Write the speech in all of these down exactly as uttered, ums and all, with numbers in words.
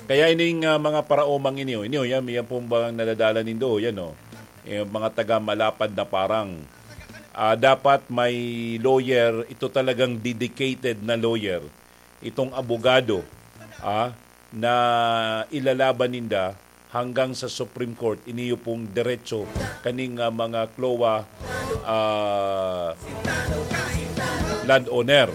Kaya ining, ah, mga paraomang ini, oh, ini, oh, yan, yan pong bagang nadadala nindo, yan, oh. Eh, mga taga Malapad na Parang. Ah, dapat may lawyer, ito talagang dedicated na lawyer, itong abogado, ah, na ilalaban ninda hanggang sa Supreme Court. Iniyo pong diretso kaning, ah, mga CLOA, ah, landowner.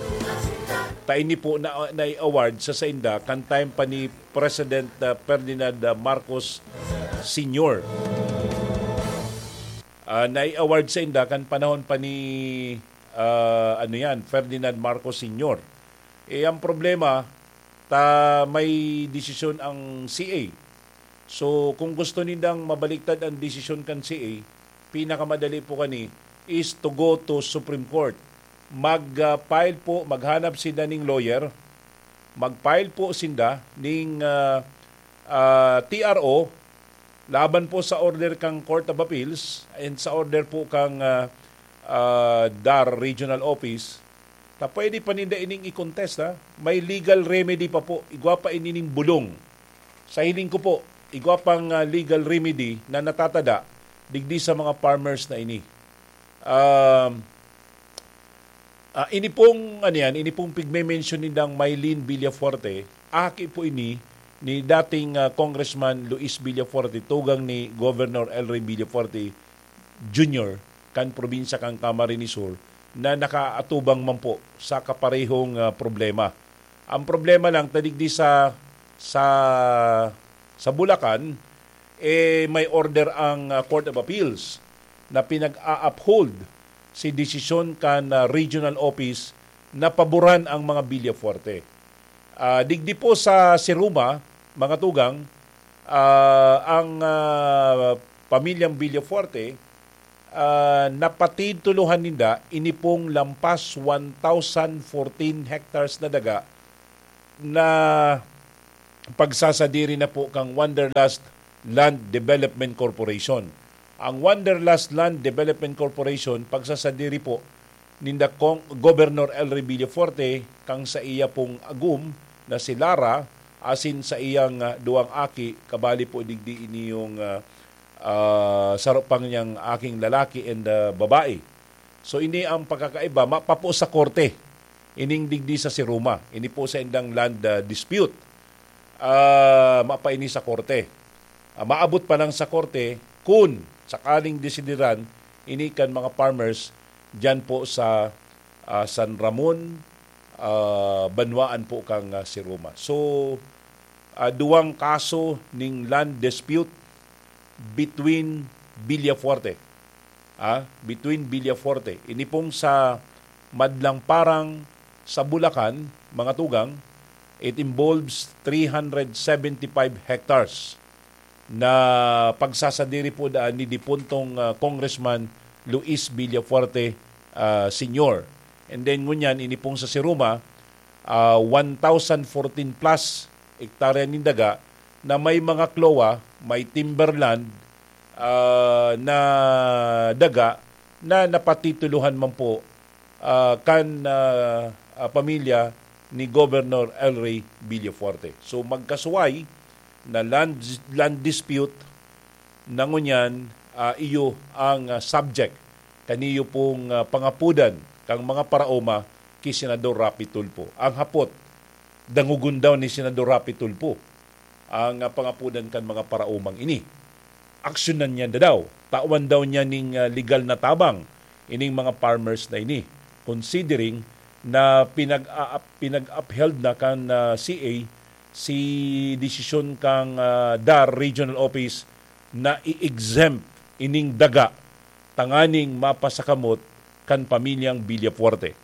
Ta ini po na, na-award sa sainda kan time pa ni President, ah, Ferdinand, ah, Marcos Senior. Ah, na-award sa inda kan panahon pa ni, ah, ano yan, Ferdinand Marcos Senior. Eh, ang problema, ta may desisyon ang C A. So, kung gusto nindang mabaliktad ang desisyon kan C A, pinakamadali po kani is to go to Supreme Court. Mag, ah, file po, maghanap sinda ning lawyer, mag-file po sinda ning, ah, ah, T R O laban po sa order kang Court of Appeals and sa order po kang, ah, ah, DAR Regional Office. Ta pwede pa ninda ining i-contest, ha? May legal remedy pa po. Igwa pa ini ning bulong. Sa hiling ko po, igwa pang, ah, legal remedy na natatada digdi sa mga farmers na ini. Um, ah, ini pong, ano yan, ini pong pigme-mention nindang Mylene Villafuerte, aki po ini ni dating, ah, Congressman Luis Villafuerte, tugang ni Governor Elroy Villafuerte Junior kan probinsya kan Camarines Sur, na nakaatubang man po sa kaparehong, ah, problema. Ang problema lang, ta digdi sa, sa, sa Bulacan, eh, may order ang, ah, Court of Appeals na pinag-a-uphold si desisyon kan, ah, regional office na paboran ang mga Villafuerte. Ah, digdi po sa Siruma, mga tugang, ah, ang, ah, pamilyang Villafuerte, ah, napatitulohan ninda ini pong lampas one thousand fourteen hectares na daga na pagsasadiri na po kang Wanderlust Land Development Corporation. Ang Wanderlust Land Development Corporation, pagsasadiri po ninda kong Governor Elroy Villafuerte, kang sa iya pong agom na si Lara, asin sa iyang, ah, duwang aki, kabali po digdi iniyong, ah, ah, saro pang niyang aking lalaki and, ah, babae. So, ini ang pagkakaiba, mapapo sa korte, ining digdi sa Siruma. Ini po sa indang land, ah, dispute. Ah, mapaini sa korte. Ah, maabot pa lang sa korte kun sakaling desideran ini kan mga farmers diyan po sa, ah, San Ramon, ah, banwaan po kang, ah, Siruma. So, ah, duwang kaso ning land dispute between Villafuerte, ah, between Villafuerte. Ini pong sa Madlang Parang sa Bulacan, mga tugang, it involves three hundred seventy-five hectares na pagsasadiri po daan ni dipuntong, ah, Congressman Luis Villafuerte, ah, Senior. And then ngunyan, ini pong sa Siruma, ah, one thousand fourteen plus hektarya nin daga na may mga CLOA, may timberland, ah, na daga na napatitulohan man po, ah, kan, ah, ah, pamilya ni Governor Elroy Villafuerte. So, magkasuway na land, land dispute na ngunyan, ah, iyo ang, ah, subject kaniyo pong, ah, pangapudan kang mga paraoma ki Senador Raffy Tulfo. Ang hapot, dangogon daw ni Senador Raffy Tulfo ang, ah, pangapudan kan mga paraomang ini. Aksyonan niya daw. Tawan daw niya ning, ah, legal na tabang ining mga farmers na ini, considering na pinag-a-, pinag-upheld na kan, ah, C A si desisyon kang, ah, DAR Regional Office na i-exempt ining daga tanganing mapasakamot kan pamilyang Villafuerte.